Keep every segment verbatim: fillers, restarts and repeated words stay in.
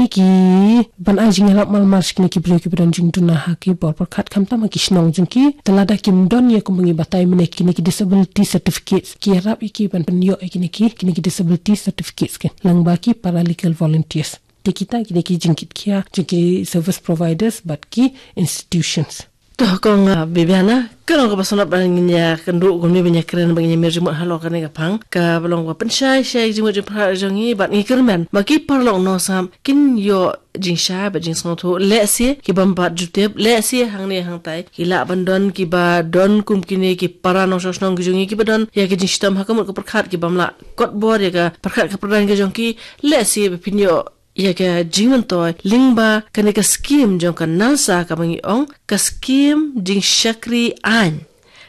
ki ban ai jingïarap marmar sha kine ki briew kiba don jingduna ha ki bor pyrkhat, khamtam ha ki shnong jong ki, te lada kim don ïa kumba ngi batai mynne kine ki disability certificates, ki ïarap ïa ki ban pynïoh ïa kine ki, kine ki disability certificates ki lyngba ki paralegal volunteers. Te kita kine ki jingkitkhia jong ki service providers bad ki institutions. To kong, ah, Bibiana, ka long kaba sngewtynnat ba ngin ïa kynduh kumne ban ïa kren, ba ngin ïa mir jingmut halor kane ka phang, kaba long ba pynshai shai jingmut jingpyrkhat jong ngi, bad ngi kyrmen ba ki paralok nongsngap kin ïoh jingshai bad jingsngewthuh, lehse ki bym pat ju tip, lehse hangne hangtai ki lah ban don kiba don kum kine ki para nongshong shnong ki jong ngi kiba don ïa ki jingshitom ha ka mut ka pyrkhat, ki bym lah kot bor ïa ka pyrkhat ka pyrdan ka jong ki, lehse ba phin ïoh ïa ka jingmyntoi lyngba kane ka skim jong ka NALSA kaba ngi ong ka skim jingshakri aiñ.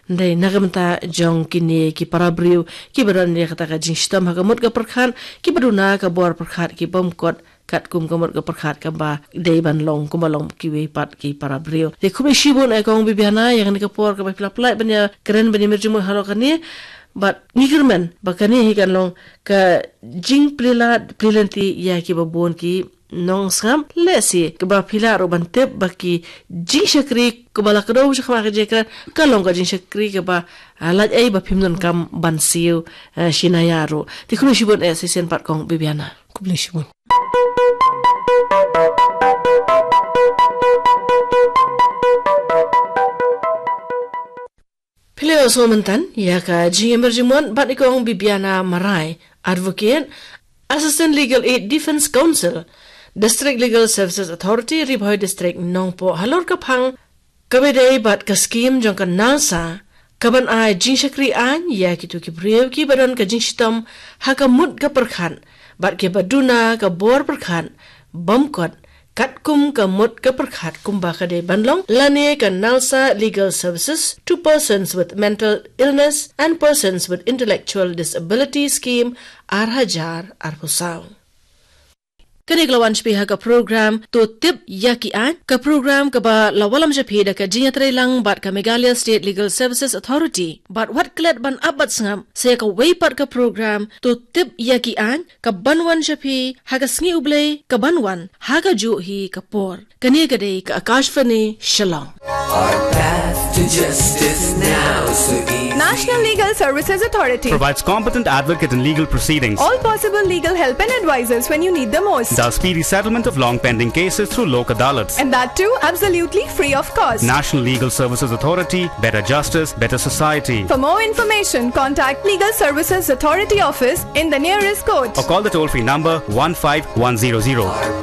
Hynrei na ka bynta jong kine ki para briew kiba don ïa kata ka jingshitom ha ka mut ka pyrkhat, kiba duna ka bor pyrkhat, ki bym kot katkum ka mut ka pyrkhat kaba dei ban long kumba long kiwei pat ki para briew. Te khublei shibun, eh, kong Bibiana, ïa kane ka por kaba phi la pynlait ban ïa kren ban ïa mir jingmut halor kane. Bad ngi kyrmen ba kane hi kan long ka jingplie lad plie lynti ïa kiba bun ki nongsngap, lehse kaba phi lah ruh ban tip ba ki jingshakri kaba la kdew shakhmat ka jingkren ka long ka jingshakri kaba, ah, lait ei ba phim donkam ban siew, ah, shi naya ruh. Te khublei shibun, eh, shisien pat kong Bibiana. Khublei shibun. Phi la ïohsngew mynta ïa ka jingïamir jingmut bad i kong Bibiana Marai, Advocate, Assistant Legal Aid, Defence Counsel, District Legal Services Authority, Ri Bhoi District, Nongpoh, halor ka phang kaba dei bad ka skim jong ka NALSA, kaban ai jingshakri aiñ ïa kito ki briew kiba don ka jingshitom ha ka mut ka pyrkhat, bad kiba duna ka bor pyrkhat bym kot katkum ka mut ka pyrkhat kumba ka dei ban long, lane ka NALSA Legal Services to Persons with Mental Illness and Persons with Intellectual Disability Scheme, ar hajar arphew saw. Kane ka la wan sha phi ha ka program To Tip ïa ki Aiñ, ka program kaba la wallam sha phi da ka jingïatreilang bad ka Meghalaya State Legal Services Authority. Bad wat klet ban ap bad sngap, sa ïa kawei pat ka program To Tip ïa ki Aiñ kaban wan sha phi ha ka sngi U Blei kaban wan, ha kajuh hi ka por. Kane ka dei ka Akashvani Shillong. Our path to justice now so easy. National Legal Services Authority provides competent advocate in legal proceedings. All possible legal help and advices when you need the most. Does speedy settlement of long pending cases through Lok Adalats. And that too absolutely free of cost. National Legal Services Authority, better justice, better society. For more information, contact Legal Services Authority office in the nearest court. Or call the toll-free number one five one zero zero.